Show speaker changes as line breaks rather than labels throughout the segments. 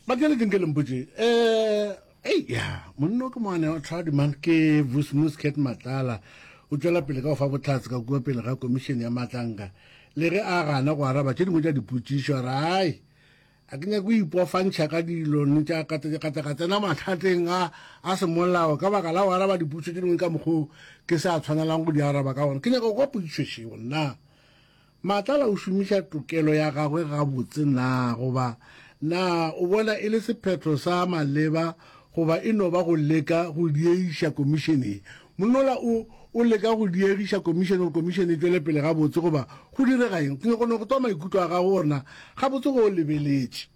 Batheeletšeng ke le mpotše um ei ya monno ke moane wa tlhadi man ke Vusimusi Cat Matlala o tšwela pele ka go fa bohlatse ka kua pele ga komišene ya Matlanka le ge a gana go araba tše dingwe tša dipotšišo a re ai a ke nyake go ipofantšha ka dilo ne tša ka tla ka tsena mathateng a a semolao ka baka la go araba dipotšišo tše dingwe ka mokgwa ke sa tshwanelang go di araba ka gona ke nyaka go kwa potšišo šeo nna Matlala o šomiša tokelo ya gagwe gabotse na goba na o bona e le sephetho sa maleba goba e no ba go leka go diegiša komišene ye? Monola o o leka go diegiša komišene gore komišene e tšwele pele gabotse goba go direga eng? Ke nyaka go no go twa maikutlo a gago gore na gabotse go o lebeletše.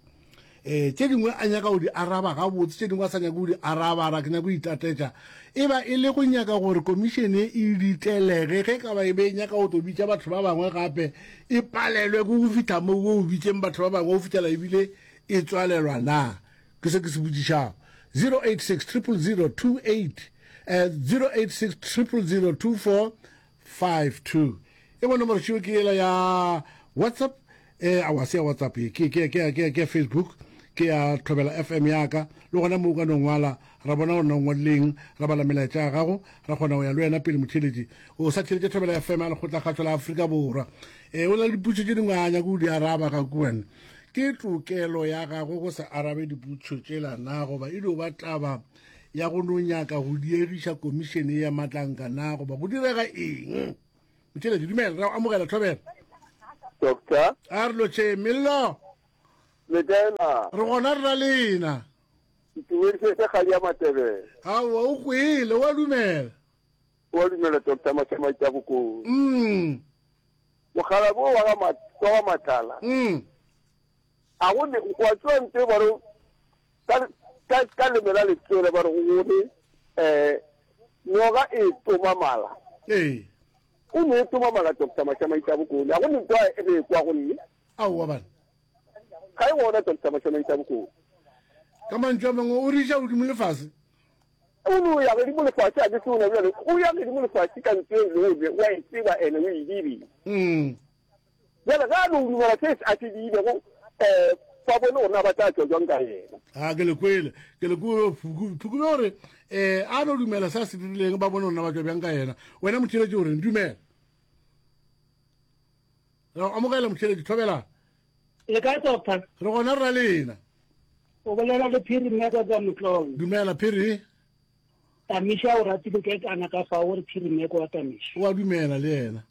Um tše dingwe a nyaka go di araba gabotse, tše dingwe a sa nyake go di araba, a ra ke nyaka go itatetša. E ba e le go nyaka gore komišene e ditelege, ge e ka ba e be e nyaka go tlo bitša batho ba bangwe gape, e palelwe ke go fihla mo go bitšeng batho ba bangwe go fihlela ebile e tswalelwa na? Ke se ke se botšišago. 086 000 28 086 000 24 52 e bo nomoro tšeo ke yela ya whatsapp eh awa se ya whatsapp ye ke ke ke ke ke facebook ke ya thobela fm ya ka le gona mo o ka no ngwala ra bona gore na o ngwadileng ra bala melaetša ya gago ra kgona go ya le wena pele motheeletši o sa theeletše thobela fm ya lekgotlakgatšo la afrika borwa e o na le diputšo tše dingwe a nyako o di araba ga kuwena ke tokelo ya gago go sa arabe diputšo tšela na goba e dio ba taba ya go no nyaka go diegiša komišene ya matlanka na goba go direga eng motšheletše dumela ra amogela thobela
Doctor.
A re lotšhe mello.
Le kae na?
Re gona re ra lena.
Ntumediše se kgadi ya Matebele.
Aowa o kwele wa dumela.
Wa dumela Doctor Mashamaita Bokone.
Mm.
Mokgalabo wa ga wa ga Matlala.
Mm.
A go ne wa tsoa nte ba re Ka, ka, ka leme la letswele ba re go gone, eh, noga e toma mala.
Ee.
O ne e toma mala, Doctor Mashamaita Bokone. A go ne ntwa e re kwa go nne.
Aowa bana.
Ga e gona, Doctor Mashamaita Bokone.
Ka mantšu a mangwe, o re iša godimo le fase.
O no ya godimo le fase, a ke se o na bjale. O ya godimo le fase ka ntho e le gore wa e tseba ene o e dirile.
Mm.
Bjale ge a no dumela se a se diilego, um ba bone gore na ba tla tšwa jwang ka yena.
A ke le kwele, ke le kwele Phukube. Phukube o re, um a no dumela se a se dirileng, ba bone gore na ba tšwa bjang ka yena. Wena motheeletši o reng? Dumela. Re go amogela motheeletši, thobela.
Le kae doctor?
Re gona rra lena.
O bolela le Phiri mme ka kwa Motlong.
Dumela Phiri.
Tamiša o ratile ke kana ka fa o re Phiri mme kwa Tamiša.
O a dumela le yena.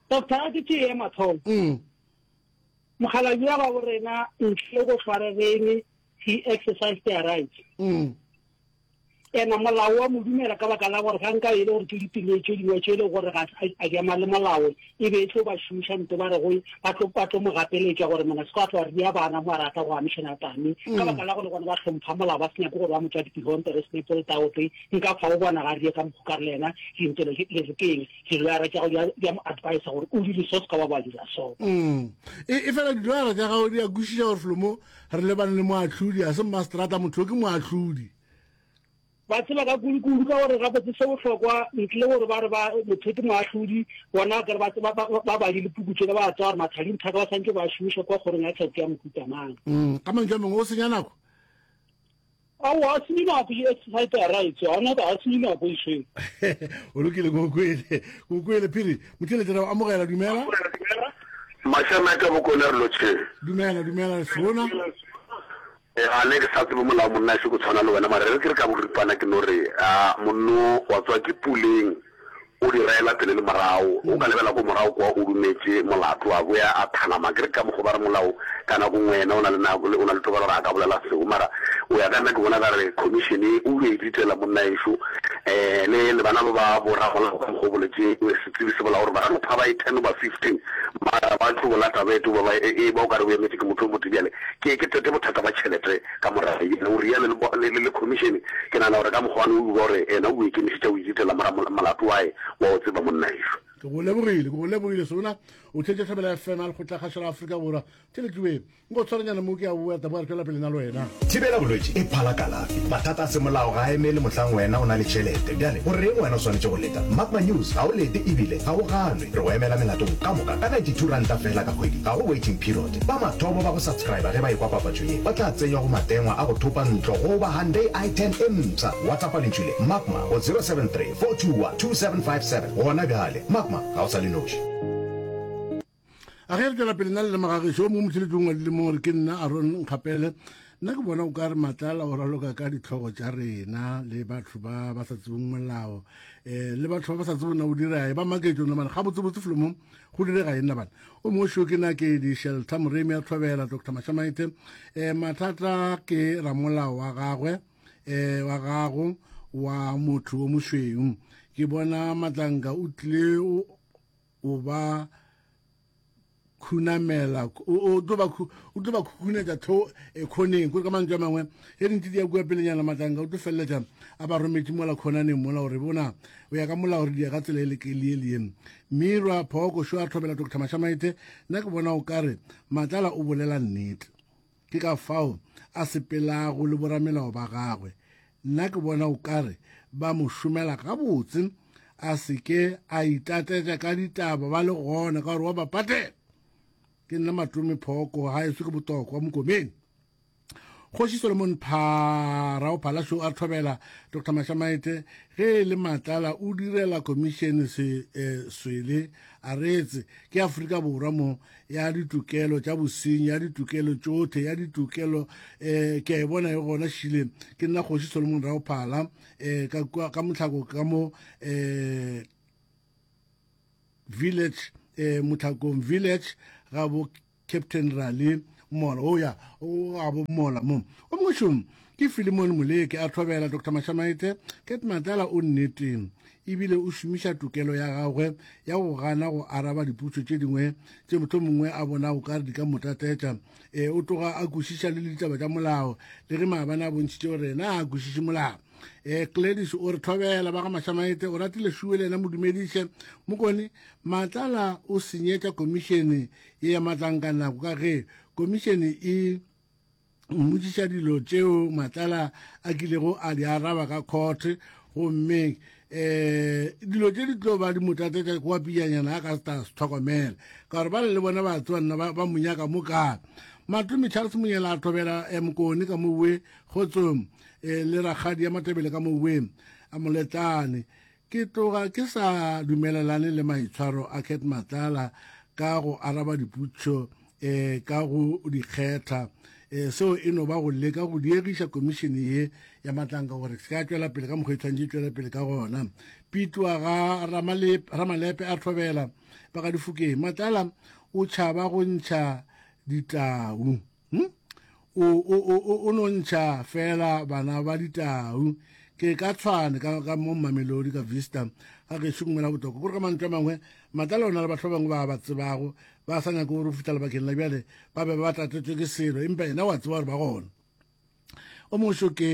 Doctor, a ke tšee ya mathomo.
Mm.
Mokgalabje wa gabo rena ntle le go hlwaregeng, he exercised their rights.
Mm.
Ena molao wa mo dumela ka baka la gore ga nka e le gore ke ditiro tše dingwe tše e le gore ga a di ama le molao e be e tlo ba šomiša nto ba re go ba tlo ba tlo mo gapeletša gore mona se ka tlo ria bana mo a rata go amišana tame ka mm. baka la gore gona ba hlompha molao ba se nyake gore ba mo tswa dipihonte re sne pole taote nka fa o bona ga rie ka mokgwa ka re le yena dintelo le re keng Diloyara tša gago di a mo advisa gore o dire so se ka ba ba dira so.
Mm. E, e fela diloyara tša gago di a kwešiša gore felo mo re lebane le moahlodi, a se mmaseterata, motho yo ke moahlodi.
Ba tseba ka kudu-kudu ka gore gabotse se bohlokwa ntle le gore ba re ba motho ke moahlodi, bona kere ba tseba ba ba badile puku tšela ba tseba gore mathadinthaka ba santse ba šomiša kwa kgorong ya tsheko ya mohuta mang.
Mm. Ka mantšu a mangwe o senya nako.
Aowa, a senye nako e exercise ya rights, ga ona a senye nako e sweng.
O lokile ko kwele, ko kwele phiri. Motšheletše ra amogela dumela.
Mashame ka bokone re lotšheng.
Dumela, dumela sona.
E ga ne ke sa tsebe molao monna se go tshwana le wena mara re ke re ka boripana ke no re a monno wa tswa ke puleng O di raela pele le morago. O ka lebela ko morago kwa o dumetše molato, a boya a thanama. Ke re ka mokgo ba re molao ka nako nngwe yena o na le nako, o na le tokelo gore a ka bolela seo. Mara o ya ka nna ke bona ka re commission e o yo e ditela monna ešo. Um le le bana ba ba bo ramolao ka mokgo o boletše setsebi se bolela gore ba ka no pha ba e ten goba 15 mara ba tlo bola taba e tlo ba ba e ba o ka re o emetše ke motho o motee. Bjale ke ke tete bothata ba tšhelete. Ka morago yena o realo le, le, le khomišene. Ke nagana gore ka mokgwa wane o uba gore yena o ikemišetša go ithutela mora molato wae wa o tseba monna ešo.
Ke go lebogile, ke go lebogile sona. O theetša Thobela FM a Lekgotlakgašo la Afrika Borwa. Theletšoe. Nko tshwaranyana mo ke a boa taba re tšwela pele na le wena.
Thibela bolwetši e phala kalafi. Mathata a semolao ga a emele mohlang wena o na le tšhelete. Bjale go reng wena o swanetše go leta? Magma News ga o lete ebile ga o ganwe. Re go emela melatong ka moka ka 92 ranta fela ka kgwedi. Ga go waiting period. Ba mathomo ba go subscriber ge ba ekwa papatšo ye ba tla tsenywa go matengwa a go thopa ntlo goba Hyundai i10 e mpsha. WhatsAppa lentšu le Magma go 073 421 2757 gona bjale. Magma ga o sa le noši.
A ge re tšwela pele nna le lemagagešo o mongwe motheletši o ngwadile mo gore ke nna Aron Nkgapele nna ke bona o ka re Matlala o raloka ka ditlhogo tša rena le batho ba ba sa tsebeng molao um le batho ba ba sa tsebeng na o dira e ba maketšo nna bana gabotsebotse felo mo go direga eng nna bana o mongwe šo ke na ke di-shelter moremi ya thobela Dr Mashamaite um mathata ke ramolao wa gagwe um wa gago wa motho o mošweu ke bona Matlanka o tlile o ba khunamela o tlo ba o tlo ba khukhunetša tho e khoneng kore ka mantšu a mangwe ge dintsi di ya kua pelenyana matlanka o tlo feleletša a ba rometše mola khonaneng mola gore bona o ya ka molao re dia ka tsela e le ke le le mirwa phoko šo a thobela Dr Mashamaite nna ke bona o kare Matlala o bolela nnete Ke ka fao a sepelago le boramelao ba gagwe. Nna ke bona o ka re ba mo šomela gabotse, a se ke a itatetša ka ditaba ba le gona, ka gore wa ba patela. Ke nna Matome Phooko, ga eso ke Botokwa Mokomeng. Kgoši Solomon Pharao Phalasho a thobela Dr Mashamaite ge e le Matlala o direla komišene se eh, swele a reetse ke Afrika Borwa mo ya ditokelo tša bosenyi ya ditokelo tšohle ya ditokelo um ke a e bona e gona šile ke nna kgoši solomon raophala um eh, ka ka motlhako ka mo um village um motlhakong village ga bo captain rally mola o ya o ga bo mola mo o mongwe šomo Ke Filemon Moleke a thobela Dr Mashamaite Cat Matlala o nneteng ebile o šomiša tokelo ya gagwe ya go gana go araba dipotšo tše dingwe tše mohlomongwe a bonago ka re di ka mo tatetša. E, o tloga a kwešiša le ditaba tša molao le ge maabane a bontšhitše gore yena a kwešiše molao. E, Gladys o re thobela ba ga Mashamaite o ratile šuwe le yena mo dumediše. Mokone Matlala o senyetša komišene ye ya Matlanka nako ka ge komišene e mmotšiša dilo tšeo Matlala a kilego a di araba ka court gomme eh dilo tše di tlo ba di mo tatetša kwa pijanyana a ka se ta se tlhokomela ka gore ba le le bona ba tsewa nna ba mo nyaka mo kae Matome Charles Monyela a thobela eh, Mokone ka mowe kgotsong eh, le rakgadi ya Matebele ka mowe a moletlane Ke tloga ke sa dumelelane le maitshwaro a Cat Matlala ka go araba dipotšišo um ka go di kgetha. Um seo e no ba go leka go diegiša komišene ye ya Matlanka gore se ka tšwela pele ka mokgwa e tshwanetše e tšwele pele ka gona. Pitwa ga Ramalepe a thobela ba ga Difokeng. Matlala o tšhaba go ntšha ditau. Hm? O, o, o, o, o no ntšha fela bana ba ditau. Ke ka tshwane ka, ka mo Mamelodi ka Vista ga gešo ngwela botoko. Kore ka mantšu a mangwe, Matlala o na le batho ba bangwe ba ba tsebago, ba sa nyake gore go fihla lebakeng la bjale ba be ba tatetšwe ke selo, empa yena wa tseba gore ba gona. O mongwe ke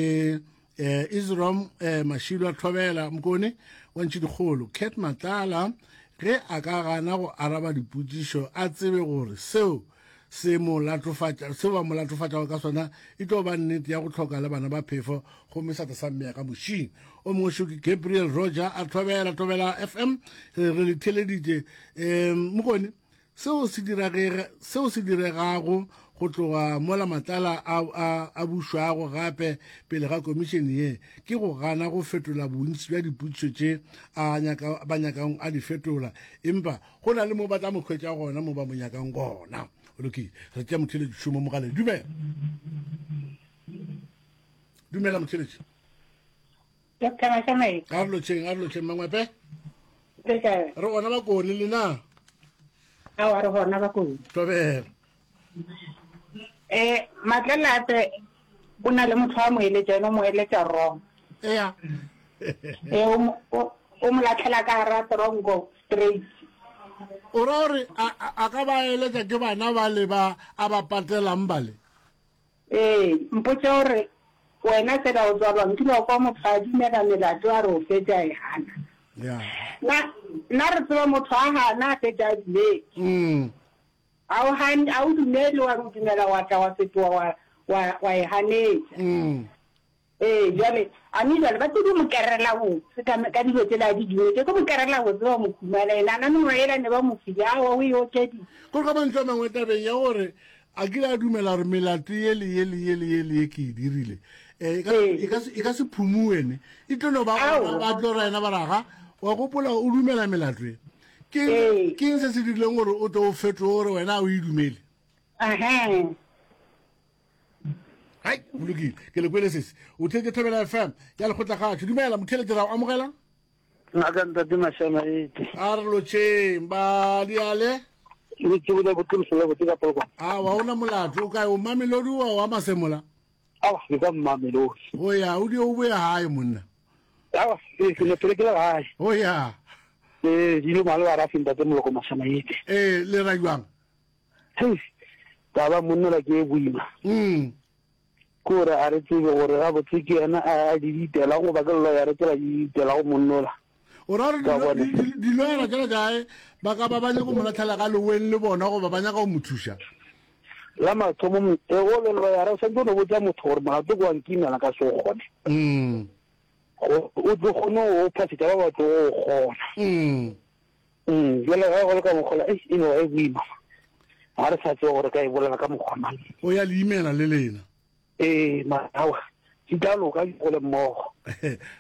eh, Isrom eh, Mashilo a Thobela Mokone wa Ntšhidikgolo Cat Matlala ge a ka gana go araba dipotšišo a tsebe gore seo se mo latofatša seo ba mo latofatšago ka sona e tlo ba nnete ya go hloka le bana ba phefo gomme sa tla sa mmeya ka mošing o mongwe šo ke Gabriel Roger a Thobela Thobela FM re le theleditše um Mokone Seo se diragega, seo se diregago go tloga mola Matlala a, a, a bušwago gape pele ga komišene ye ke go gana go fetola bontši bja dipotšišo tše a nyaka, ba nyakang a di fetola, empa go na le mo ba tla mo hwetša gona mo ba mo nyakang gona. Go lokile, re tšea motheeletši šomo mogaleng. Dumela. Dumela motheeletši.
Doctor Masamai.
A re lotšheng, a re lotšheng Mangwepe.
Le kae?
Re gona bakone le na?
Aowa re gona bakone.
Thobela.
Eh, Matlelape o na le motho wa mo eletša, ene o mo eletša wrong.
Ea.
Eh, o mo o mo latlhela ka gara tronko straight.
O ra gore a ka ba eletša ke bana bale ba a ba patelang bale?
Ee, mpotše gore wena fela o tswalwa nkile wa kwa motho a dumela melato a re o fetša a e gana.
Yeah.
Na nna re tseba motho a gana a fetša a dumetse.
Mm.
A o gane, a o dumele wa re o dumela wa tla wa fetoga wa, wa, wa e ganetša.
Mm.
Ee, bjale, a mme bjale ba tlo di mo kerela botse ka, ka dilo tšela a di dumetše, tlo mo kerela botse ba mo humana, yena a na mengwaga yela ne ba mo file, aowa o e okeditše.
Gore ka mantšu a mangwe tabeng ya gore a kile a dumela gore melato ye le ye le ye le ye le ye ke e dirile, eh, e ka,
Ee.
e ka se, e ka se phumuwe ne, e tlo no ba gona,
Aowa.
ba tlo ra yena ba ra ga, wa gopola o dumela melato ye. Ke eng,
Ee.
ke eng se se dirileng gore o tlo o fetoge gore wena a o e dumele?
Ahee.
Hai, go lokile. Ke le kwele sesi. O theetše Thobela FM ya Lekgotlakgatšo. Dumela, motheeletši ra o amogela.
Ngaka ntate Mashama ete.
A re lotšheng ba diale.
Le tsebile botse lefelo botse ka polokwane.
A wa ona molato o kae o Mamelodi wa wa Masemola?
Awa ke ka Mamelodi.
O ya o di o boya hae monna.
Awa ke ke ne pele ke le gae.
O ya.
Eh dilo male ba rafi ntate Moloko Mashama ete.
Eh le ra jwang?
Hei, taba monna ke e boima.
Mm.
Ke gore a re tsebe gore gabotse ke yena a a di ditela goba ke lawyer tsela di ditela go monnola.
O ra gore
Ka bone.
diloyara tšela kae ba ka ba ba nyaka go mo latlhela ka loweng le bona goba ba nyaka go mo thuša?
La mathomo mo- e go le lawyer o santse o no botsa motho gore molato ke wa nkimela ka se o kgone.
Mm.
Go o tlo kgone go phasetša ba ba tlo go kgona.
Mm.
Mm, bjale ge go le ka mokgola, ei, e no ba e boima. Ga re sa tsebe gore ka e bolela ka mokgwa mang.
O ya le imela le lena.
Ee, mara aowa, di tla loka di gole mmogo.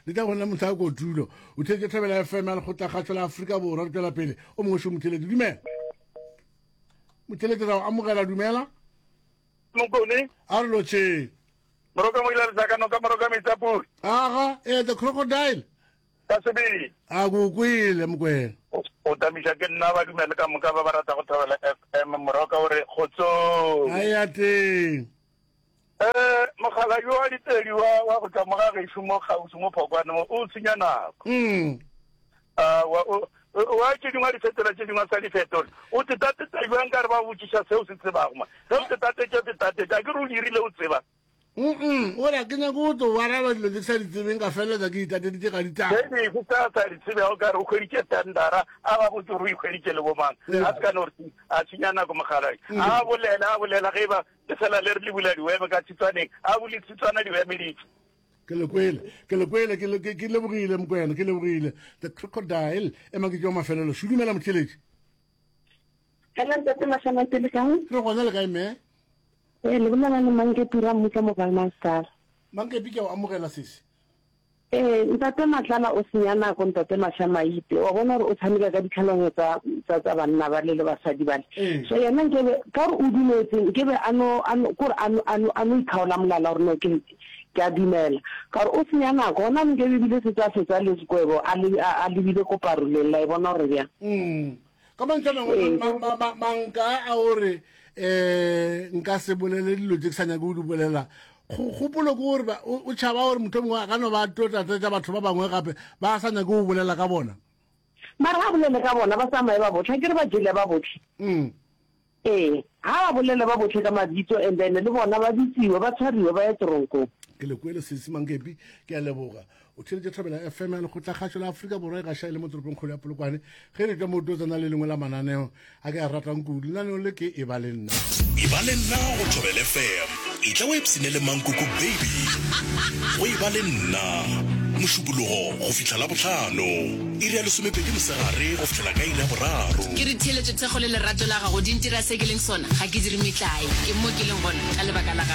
Di tla go nna mohla kotulo. O theetše Thobela FM ya Lekgotlakgašo la Afrika Borwa. Re tšwela pele. O mongwe šo motheeletši. Dumela. Motheeletši ra o amogela. Dumela.
Mokone.
A re lotšheng.
Moroka mo ile letlaka noka moroka metsi a pula.
Aga, ee, the crocodile.
Ka sebele.
A ko kwele, Mokwena.
O tamiša ke nna ba dumele ka moka ba ba rata go thabela FM Moroka o re kgotsong.
A ya teng.
Eh mogala yo wa ditedi wa wa go tla mo ga gešo mo kgauswi mo Phokwane mo o senya nako.
Mm.
A wa o wa tše dingwe a di fetola tše dingwe a sa di fetola. O tetatetsa jwang ka re ba botšiša seo se tsebago ma. Ge o tetatetša o tetatetša a ke re o dirile o tseba.
Mm-mm, o re ke nyake go tlo araba dilo tse ke sa di tsebeng ka feleletsa ke itateditše ka ditaba.
Ge dife tse a sa di tsebego ka re o hweditše tendara, a ba botse gore o ikhweditše le bomang. A se ka no re a senya nako mokgalabje. A bolela, a bolela ge e ba le fela le re le bula diwebe ka tshitswaneng, a bule tshitswana diwebe di tšwe.
Ke le kwele, ke le kwele, ke, ke, ke lebogile Mokwena, ke lebogile. The crocodile, ema ke tšwa mafelelo. Šudumela motheeletši.
Hello ntate Mashamate le kae?
Re gona le kae mme?
Ee, le bolela le Mankepi Rammutla mo Valmansdal.
Mankepi ke a o amogela sesi.
Ee, ntate Matlala o senya nako ntate Mashamaite. Wa bona gore o tshameka ka ditlhaloganyo tsa tsa tsa banna bale le basadi bale.
Ee.
So yena nkebe ka gore o dumetse nkebe a no a no kore a no a no a no ikgaola molala gore no ke ke a dumela. Ka gore o senya nako gona nkebe ebile setse a fetsa le sekwebo a le a a lebile ko paroleng la e bona gore bjang.
Mm. Ka mantšu a mangwe, ma, ma, ma, manka a o re um nka se bolele dilo tse ke sa nyake go di bolela kgopolo ke gore o tšhaba gore motho mongwe a ka no ba tlo tlatsetša batho ba bangwe gape ba sa nyake go bolela ka bona.
Mara ga bolele ka bona ba tsamaye ba bohle, akere ba jele ba bohle.
Mm.
Ee, ga ba bolele ba bohle ka mabitso and then le bona ba bitsiwe, ba tshwariwe ba ye toronkong.
Ke le kwele sesi Mankepi, ke a leboga. O theeletše Thobela FM ya Lekgotlakgašo la Afrika Borwa e gaša e le mo toropongkgolo ya Polokwane. Ge re tšwa mo tlo tsena le lengwe la mananeo a ke a ratang kudu. Lenaneo le ke Eba le Nna.
Eba le nna go Thobela FM. Etla o ipshine le Mankoko Baby go Eba le Nna. Mošupologo go fihla Labohlano, iri ya lesomepedi mosegare go fihlela ka iri ya boraro.
Ke re theeletšo, thekgo le lerato la gago di ntira se ke leng sona. Ga ke dire metlae. Ke mo ke leng gona ka lebaka la gago.